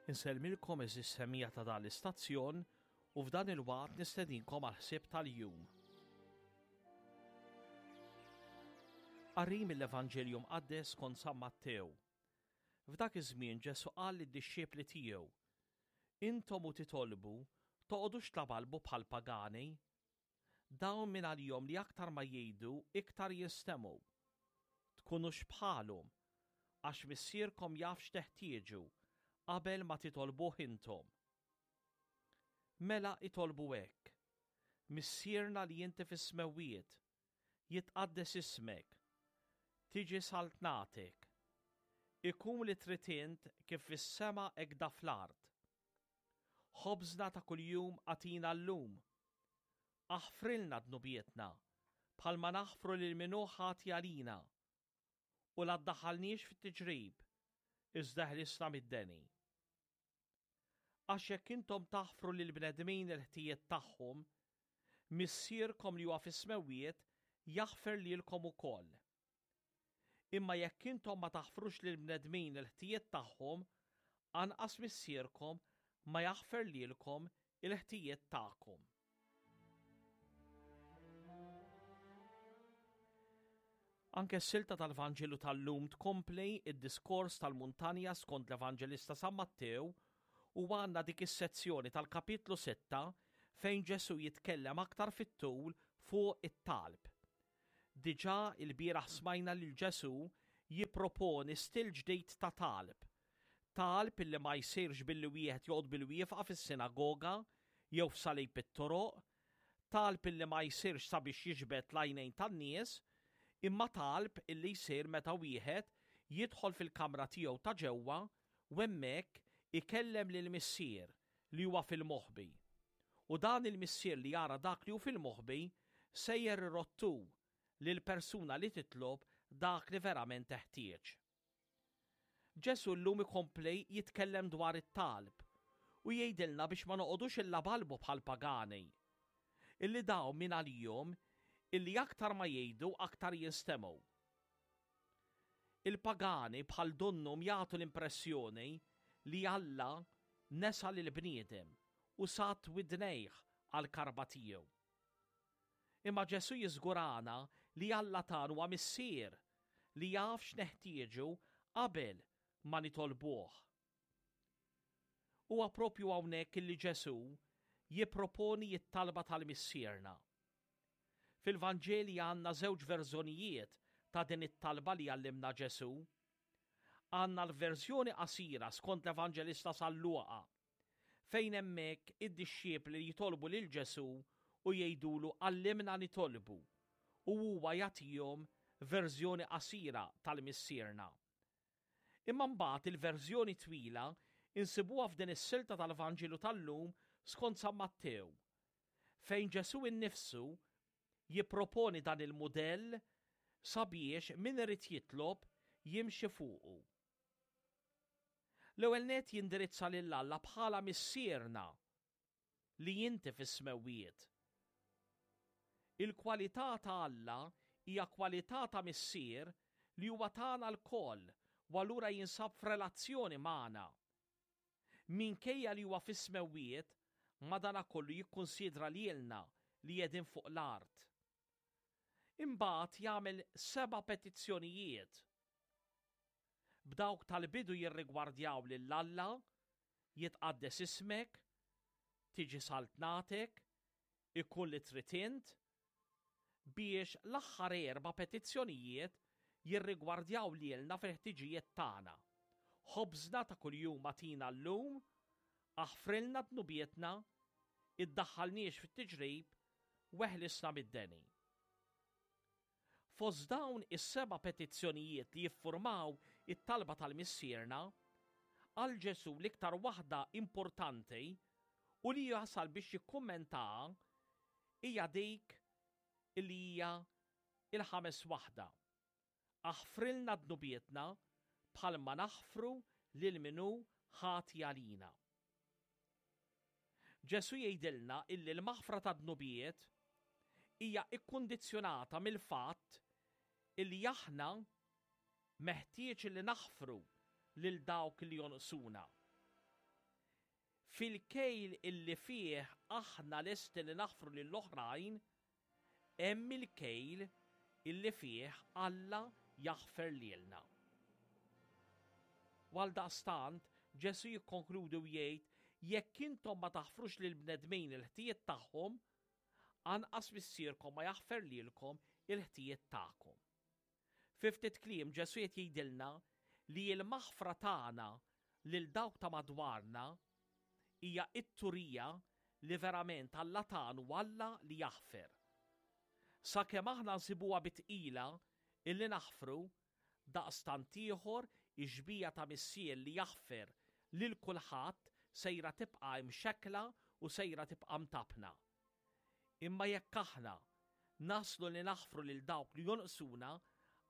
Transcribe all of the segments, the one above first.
Insellmilkom eżis semija ta' dan l-istazzjon u f'dan il-waqt nistedinkom għal ħsieb tal-jum. Qari mill-Evanġelju Mqaddes skont San Mattew. F'dak iż-żmien Ġesù qal lid-dixxipli tiegħu, Intom u titolbu, toqgħodux tlabalbu bħall-pagani. Dawn min għalihom li aktar ma jgħidu iktar jinstemgħu. Tkunux bħalhom, għax Missierkom jaf x'teħtieġu qabel ma titolbuh intom. Mela itolbu hekk, Missierna li inti fis-smewwiet, jitqaddes ismek, tiġi saltnatek, ikun li trid int kif fis-sema hekk da fl-art. Ħobżna ta' kuljum agħtina llum. Aħfrilna dnubietna, bħalma naħfru lil min hu ħati għalina. U la ddaħħalniex fit-tiġrib, iżda eħlisna mid-deni. Għax jekk intom taħfru lill-bnedmin il-ħtijiet tagħhom, Missierkom li huwa fis-smewwiet jaħfer lilkom ukoll. Imma jekk intom ma taħfrux lill-bnedmin il-ħtijiet tagħhom, anqas Missierkom ma jaħfer lilkom il-ħtijiet tagħkom. Anke s-silta tal-Vanġelu tal-lum tkompli id-diskors tal-muntanja skont l-Evanġelista San Mattew u għandna dik is-sezzjoni tal-kapitlu 6 fejn Ġesù jitkellem aktar fit-tul fuq it-talb. Diġà ilbieraħ smajna lil Ġesù jipproponi stil ġdid ta' talb. Talb illi ma jsirx billi wieħed joqgħod bil-wieqfa fis-sinagoga jew f'salib it-toroq, talb illi ma jsirx sabiex jiġbed l-għajnejn tan-nies, imma talb illi jsir meta wieħed jidħol fil-kamra tiegħu ta' ġewwa u hemmhekk ikellem lill-Missier li huwa fil-moħbi. U dan il-Missier li jara dak li hu fil-moħbi sejjer irodd hu lill-persuna li titlob dak li verament teħtieġ. Ġesù llum ikompli jitkellem dwar it-talb u jgħidilna biex ma noqogħdux illabalbu bħall-pagani. Illi dawn min għalihom illi aktar ma jgħidu aktar jinstemgħu. Il-pagani bħal donnhom jagħtu l-impressjoni li Alla nesa lill-bniedem u sadd widnejh għall-karba tiegħu. Imma Ġesù jiżgurana li Alla tagħna huwa Missier li jaf x'neħtieġu qabel ma nitolbuh. Huwa propju hawnhekk illi Ġesù jipproponi t-talba tal-Missierna. Fil-Vanġeli għandna żewġ verżjonijiet ta' din it-talba li għallimna Ġesù. Għandna l-verżjoni qasira skont l-Evanġelista San Luqa, fejn hemmhekk id-dixxipli jitolbu lil Ġesù u jgħidulu għallimna nitolbu, u huwa jagħtihom verżjoni qasira tal-Missierna. Imma mbagħad il-verżjoni twila insibuha f'din is-silta tal-Vanġelu tal-lum skont San Mattew, fejn Ġesù innifsu jipproponi dan il-mudell sabiex min irid jitlob jimxi fuqu. L-ewwel nett jindirizza lil Alla bħala Missierna li inti fis-smewwiet. Il-kwalità ta' Alla hija kwalità ta' Missier li huwa tagħna lkoll u allura jinsab f'relazzjoni magħna. Minkejja li huwa fis-smewwiet, madanakollu jikkunsidra lilna li qegħdin fuq l-art. Imbagħad jagħmel seba' petizzjonijiet. B'dawk tal-bidu jirrigwardjaw lil Alla, jitqaddes ismek, tiġi saltnatek, ikun li trid int, biex l-aħħar erba' petizzjonijiet jirrigwardjaw lilna fil-ħtiġijiet tagħna. Ħobżna ta' kuljum agħtina llum, aħfrilna dnubietna, iddaħħalniex fit-tiġrib, u eħlisna mid-deni. Fost dawn is-seba' petizzjonijiet li jiffurmaw it-talba tal-Missierna, għal Ġesù l-iktar waħda importanti u li jasal biex jikkummentaha hija dik li hija il-ħames waħda. Aħfrilna dnubietna bħalma naħfru lil min hu ħati għalina. Ġesù jgħidilna illi l-maħfra ta' dnubiet hija ikkundizzjonata mill-fatt illi aħna meħtieġ li naħfru lil dawk li jonqsuna. Fil-kejl illi fih aħna lesti li naħfru lill-oħrajn, hemm il-kejl illi fih Alla jaħfer lilna. U għaldaqstant, Ġesù jikkonkludi u jgħid, jekk intom ma taħfrux lill-bnedmin il-ħtijiet tagħhom, anqas Missierkom ma jaħfer lilkom il-ħtijiet tagħkom. Fi ftit kliem Ġesù qed jgħidilna li l-maħfra tagħna lil dawk ta' madwarna hija t-turija li verament Alla tagħna hu Alla li jaħfer. Sakemm aħna nsibuha bi tqila illi naħfru, daqstant ieħor ix-xbieha ta' Missier li jaħfer lil kulħadd sejra tibqa' imxekkla u sejra tibqa' mtappna. Imma jekk aħna naslu li naħfru lil dawk li jonqsuna,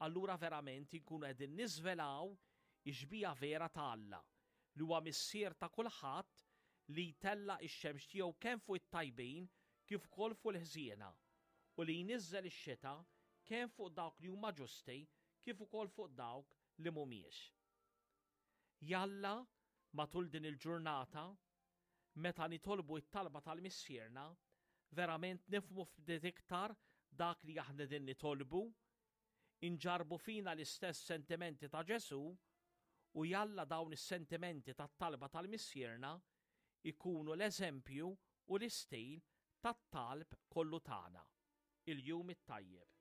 allura verament inkunu qegħdin niżvelaw ix-xbieha vera ta' Alla, li huwa Missier ta' kulħadd li jtella' x-xemx tiegħu kemm fuq it-tajbin kif ukoll fuq il-ħżiena, u li jniżżel ix-xita kemm fuq dawk li huma ġusti kif ukoll fuq dawk li mhumiex. Jalla, matul din il-ġurnata, meta nitolbu t-talba tal-Missierna, verament nifhmu ftit iktar dak li aħna qegħdin nitolbu, inġarrbu fina l-istess sentimenti ta' Ġesù u jalla dawn is-sentimenti tat-talba tal-Missierna jkunu l-eżempju u l-istil tat-talb kollu tagħna. Il-Jum it-Tajjeb.